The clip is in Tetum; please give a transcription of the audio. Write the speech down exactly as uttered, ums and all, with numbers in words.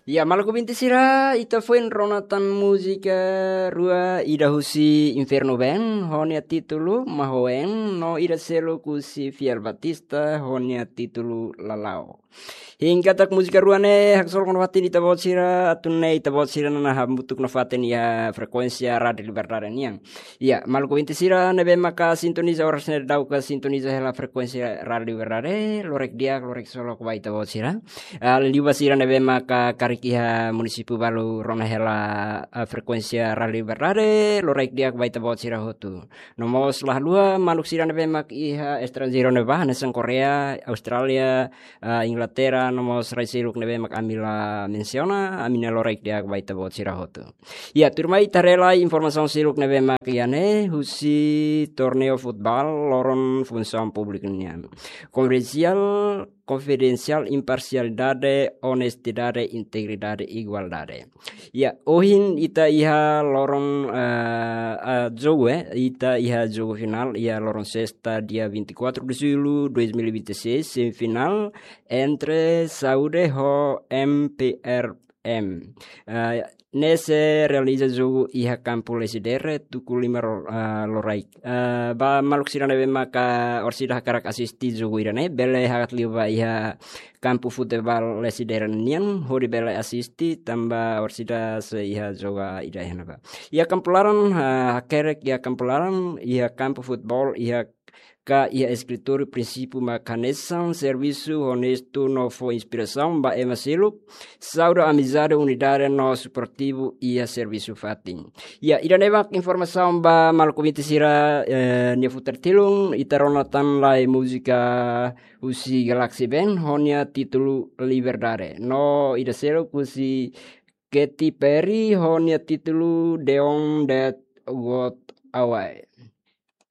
Ya, maluk ouvinte sira, ita foin rona tan múzika rua, ida husi Inferno Band, ho nia títulu Mahoen, no ida seluk husi Fiel Batista, ho nia títulu Lalao. Hein katak múzika rua ne'e haksolok nafatin ita-boot sira, atu nune'e ita-boot sira nanahamutuk nafatin iha frekuénsia Rádio Liberdade nian. Ya, maluk ouvinte sira ne'ebé maka sintoniza oras ne'e daudauk sintoniza hela frekuénsia Rádio Liberdade, loraik di'ak, loraik solok ba ita-boot sira. Ah, liuliu ba sira ne'ebé maka karik iha munisípiu balu rona hela, ah, frekuénsia Rádio Liberdade, loraik di'ak ba ita-boot sira hotu. No mós la haluha maluk sira ne'ebé mak iha estranjeiru ne'e ba, hanesan Koreia, Austrália, ah, Inglaterra, no mós rai seluk ne'ebé mak ami la mensiona, ami-nia loraik di'ak ba ita-boot sira hotu. Ya, tuirmai ita haree lai informasaun seluk ne'ebé mak iha ne'e, husi torneiu futeból loron Funsaun Públika nian. Konfidensiál, konfidensiál, imparsialidade, onestidade, integridade, igualdade. Ya, ohin ita iha loron, eh, eh, jogu, eh, ita iha jogu finál, iha loron sesta, dia vinte e quatro de julho dois mil e vinte e seis, semifinál entre Saúde ho M P R M. Eh, ne'e sei realiza jogu iha kampu Lecidere, tuku lima ro-, eh, loraik. Eh, ba maluk sira ne'ebé maka orsida hakarak asisti jogu ida-ne'e, bele hakat liu ba iha kampu futeból Lecidere nian, hodi bele asisti, tanba orsida sei iha joga ida iha ne'ebá. Iha kampu laran, ah, hakerek iha kampu laran, iha kampu futeból, iha ka iha eskritóriu prinsípiu mak hanesan servisu onestu no fó inspirasaun ba ema seluk, saúde, amizade, unidade no suportivu iha servisu fatin. Ya, ida-ne'e mak informasaun ba maluk ouvinte sira, eh, nia futar tilun, ita rona tan lai múzika husi Galaxy Band, ho nia títulu Liberdade. No ida seluk husi Katy Perry, ho nia títulu The One That Got Away.